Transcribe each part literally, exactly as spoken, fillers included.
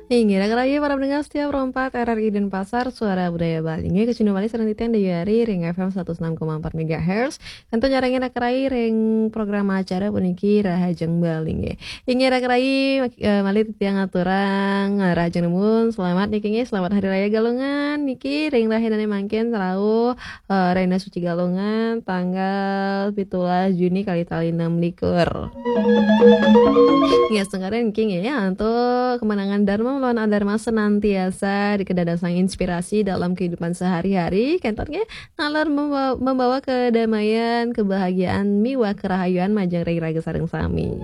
Inggih, raga-raga para pendengar setia Pro empat R R I Denpasar, Suara Budaya Bali. Inggih, kacunduk malih sareng titiang Dayu Ari ring F M seratus enam koma empat megahertz. Kantun nyarengin raga-raga ring program acara puniki Rahajeng Bali, inggih. Inggih, raga-raga, eh, malih titiang ngaturang, eh, Rahajeng Dumun, selamat niki, inggih, selamat Hari Raya Galungan niki ring rahinane mangkin rauh, eh, Rahina Suci Galungan, tanggal pitulas Juni kalih tali enam likur. Inggih, sengkara niki, inggih, ya, antuk kemenangan Dharma melawan Adharma senantiasa dikadadosang inspirasi dalam kehidupan sehari-hari, kenten, inggih, nalar membawa, membawa kedamaian, kebahagiaan, miwah kerahayuan majeng ring raga sareng sami.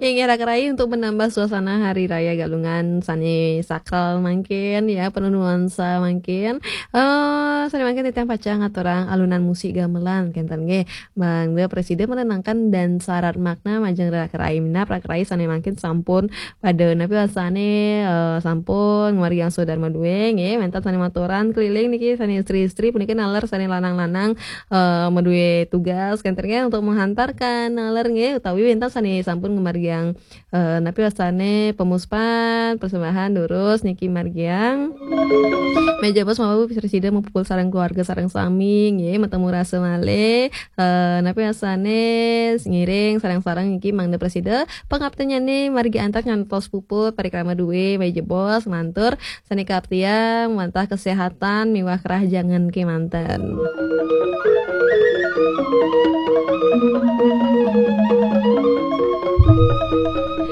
Inggih, raga-raga, untuk menambah suasana Hari Raya Galungan sane sakral mangkin, ya, penuh nuansa mangkin. Eh, sane mangkin titiang pacang ngaturang alunan musik gamelan, kenten, nggih. Mangda prasida menenangkan dan syarat makna majeng raga-raga, minab raga-raga sane mangkin sampun pada napi wasane, eh, sampun ngamargiang swadarma duwe, nggih, wenten sane maturan keliling niki, sane istri-istri puniki naler sane lanang-lanang, eh, madue tugas, kenten, nggih, untuk menghantarkan naler, nggih, utawi wenten sane sampun ngamargiang, eh, napi wasane pemuspan, persembahan, durus niki margiang. Meja bos mawi prasida mapupul sareng keluarga sareng sami, nggih, matemu rasa malih. Eh, napi wasane ngiring sareng-sareng niki mangda prasida pangaptinyane margi antar ngantos puput parikrama duwe, meja bos, mantur sane kaptiang, wantah kesehatan miwah kerahajengan kemanten.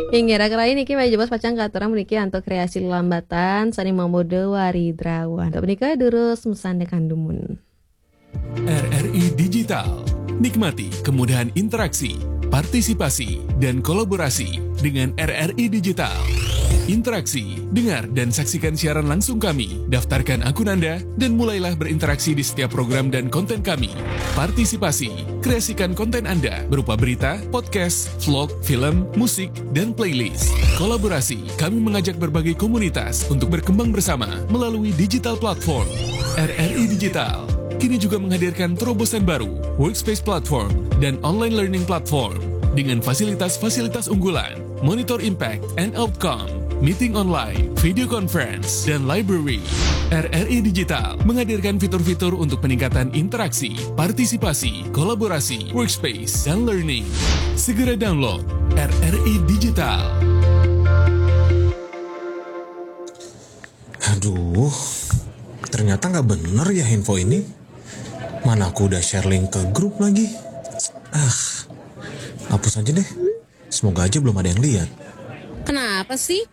Inggih, raga-raga, niki meja bos pacang katurang puniki antuk kreasi lelambatan sane mamuda Waridrawan. Punika durus masandekan dumun. R R I Digital. Nikmati kemudahan interaksi, partisipasi, dan kolaborasi dengan R R I Digital. Interaksi, dengar dan saksikan siaran langsung kami. Daftarkan akun Anda dan mulailah berinteraksi di setiap program dan konten kami. Partisipasi, kreasikan konten Anda berupa berita, podcast, vlog, film, musik, dan playlist. Kolaborasi, kami mengajak berbagai komunitas untuk berkembang bersama melalui digital platform. R R I Digital kini juga menghadirkan terobosan baru, Workspace Platform dan Online Learning Platform, dengan fasilitas-fasilitas unggulan, Monitor Impact and Outcome, meeting online, video conference, dan library. R R I Digital menghadirkan fitur-fitur untuk peningkatan interaksi, partisipasi, kolaborasi, workspace, dan learning. Segera download R R I Digital. Aduh, ternyata nggak bener ya info ini. Mana aku udah share link ke grup lagi. Ah, hapus aja deh. Semoga aja belum ada yang lihat. Kenapa sih?